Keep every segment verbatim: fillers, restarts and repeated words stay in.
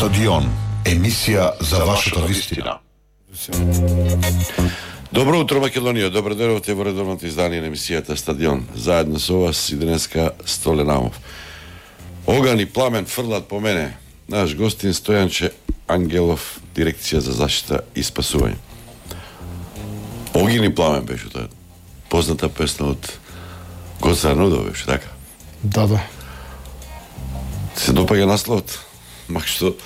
Стадион, емисија за вашата вистина. Добро утро, Македонија. Добро дојдовте во редовното издание на емисијата Стадион. Заедно со вас и денеска Столенамов. Оган и пламен фрлат по мене. Наш гостин Стојанче Ангелов, дирекција за заштита и спасување. Огин и пламен беше тоа. Позната песна од Гоца Нудо беше, така? Да, да. Се допаѓа насловот. Мак што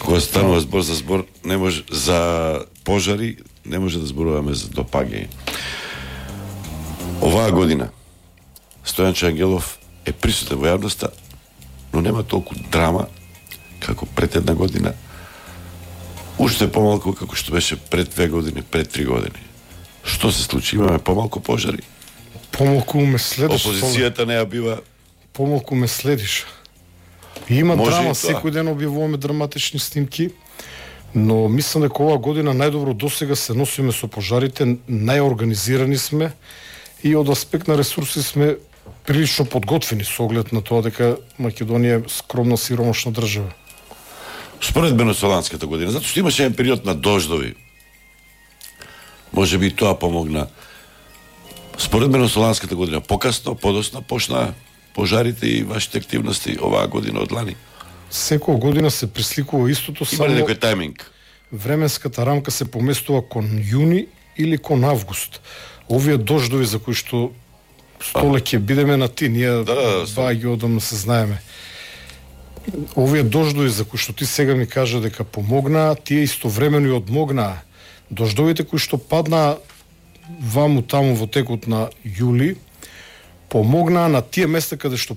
кога станува збор за збор, не може за пожари, не може да зборуваме за допаѓање. Оваа година Стојанче Ангелов е присутен во јавноста, но нема толку драма како пред една година. Уште помалку како што беше пред две години, пред три години. Што се случи? Имаме помалку пожари. Помалку ме следиш. Опозицијата не ја бива. Помалку ме следиш. Има Може драма, и тоа. секој ден објавуваме драматични снимки, но мислам дека оваа година најдобро досега се носиме со пожарите, најорганизирани сме и од аспект на ресурси сме прилично подготвени со оглед на тоа дека Македонија е скромна сиромашна држава. Според венецуеланската година, затоа што имаше еден период на дождови. Може би тоа помогна. Според венецуеланската година, покасно, подоцна почнаа пожарите и вашите активности оваа година од лани. Секоја година се присликува истото, Има ли само некој тајминг? временската рамка се поместува кон јуни или кон август. Овие дождови за кои што Столе ќе бидеме на ти, ние Да, да, два ги одамна се знаеме. Овие дождови за кои што ти сега ми кажа дека помогнаа, тие истовремено и одмогнаа. Дождовите кои што паднаа ваму таму во текот на јули, помогнаа на тие места каде што